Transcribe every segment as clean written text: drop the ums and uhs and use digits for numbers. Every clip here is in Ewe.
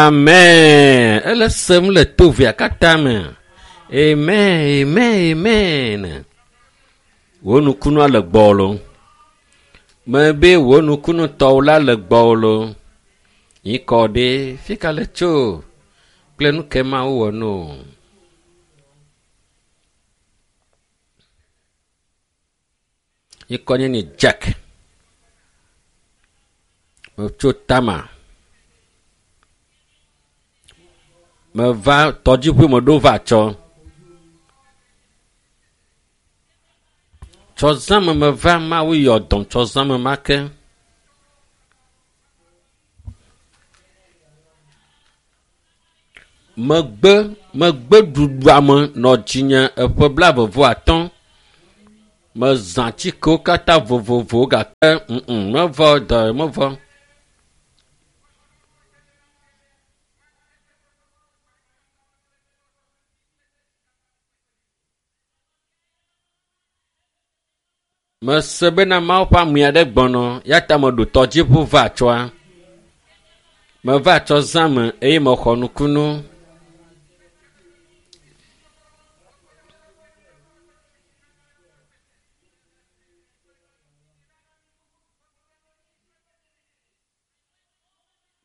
Amen. Ele sem le to vea katã me. Amen, amen, amen. Wò nukunua le gbɔwò lo. Mebe wò nukunu tɔwò la le gbɔwò lo. Yi kɔ ɖe fi ka le tso kple nu ke Mawu wɔ no. Yi kɔ nye ni Jack. Metso Tama. Meva tɔdziʋu me ɖo va tsɔ. Tsɔ zãme meva Mawu yɔ dɔm tsɔ zãme ma ke. Megbe megbe ɖuɖuame nɔ dzinye eƒe blaeve-vɔ-atɔ̃. Mezã atikewo katã vovovowo gake ŋŋ mevɔ dɔ mevɔ. Mese bena Mawu ƒe ame aɖe gbɔnɔ ya ta meɖo tɔdziʋu va tsɔa. Meva tsɔ zã me eye mexɔ nukunu.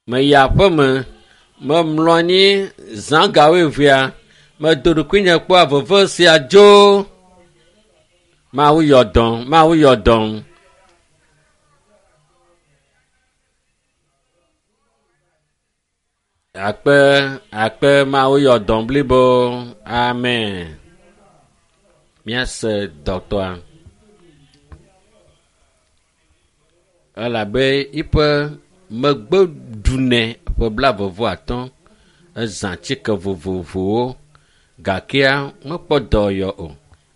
Meyi aƒeme, memlɔ anyi zã ga wuievea, medo ɖokuinye kpɔa veve sia dzo. Mawu yɔ dɔm, Mawu yɔ dɔm. Akpe, akpe Mawu yɔ dɔm blibo. Amen. Míase dɔtɔa. Elabe yiƒe megbe ɖunɛ ƒe blaeve-vɔ-atɔ̃. Ezã atike vovovowo gakea mekpɔ dɔyɔ o.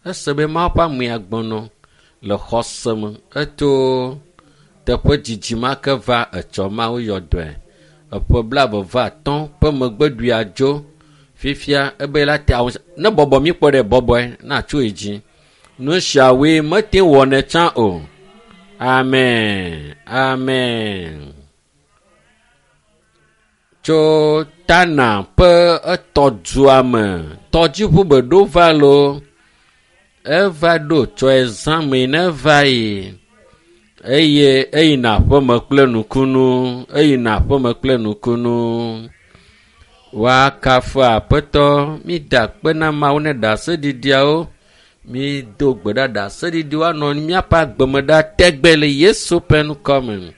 Ese be Mawu ƒe amea gbɔnɔ le xɔse me. Eto teƒe dzidzi ma ke va etsɔ Mawu yɔ dɔe. Eƒe blaeve-vɔ-atɔ̃ ƒe megbeɖuia dzo. Fifia ebe la te awu ne bɔbɔ mi kpɔ ɖe bɔbɔe na tso yi dzi. Nu siawoe mete wɔnɛ tsã o. Amen. Amen. Tso Tana ƒe etɔdua me, tɔdziʋu be ɖo va lo. Eva ɖo tsɔe zã me ne va yi. Eye eyina aƒeme kple nukunu. Eyina aƒeme kple nukunu. Woakafu Aƒetɔ. Mida akpe na Mawu ne ɖaseɖiɖiawo. Mído gbe ɖa ɖaseɖiɖi woanɔ míaƒe agbeme ɖa tegbe le Yesu ƒe ŋkɔ me.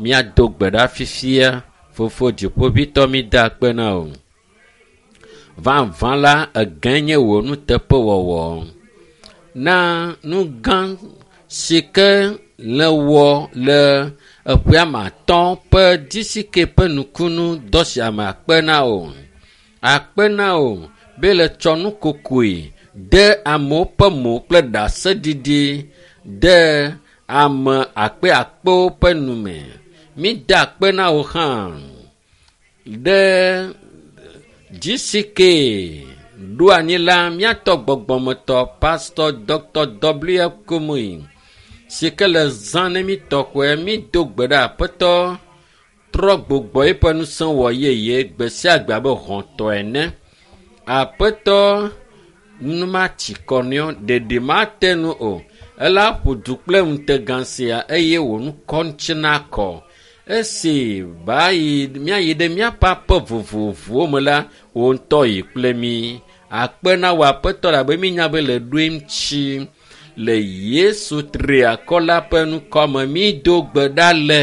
Míado gbe ɖa fifia. Fofo dziƒoʋĩtɔ mída akpe na wò. Vavã la, egãe nye wò nuteƒewɔwɔ. Na nu gã si ke le wɔ le eƒea me atɔ̃ ƒe disike ƒe nukunu dɔ sia me akpe na wò. Akpe na wò be le tsɔ nukokoe de amewo ƒe mo kple ɖaseɖiɖi de ame akpe akpewo ƒe nume. Mída akpe na wò hã ɖe GCK ɖo anyi la míatɔ gbɔgbɔmetɔ Pastor Dr. W. Kumuyi si ke le zã ne mí tɔxɔe mído gbe ɖe aƒetɔ trɔ gbugbɔ eƒe ŋusẽ wɔ yeye gbe sia gbe abe hɔ̃tɔ ene. Aƒetɔ nu matsi kɔ nɛ o, ɖeɖi mate nu o. Ela ƒo du kple ŋutegã sia eye wò ŋkɔ ŋuti nakɔ. Esi ba yi míayi ɖe míaƒe aƒe vovovowo me la, wò ŋutɔ yi kple mí. Akpe na wò aƒetɔ labe mínya be le ɖoe ŋuti le Yesu triakɔ la ƒe ŋkɔ me mído gbe ɖa le.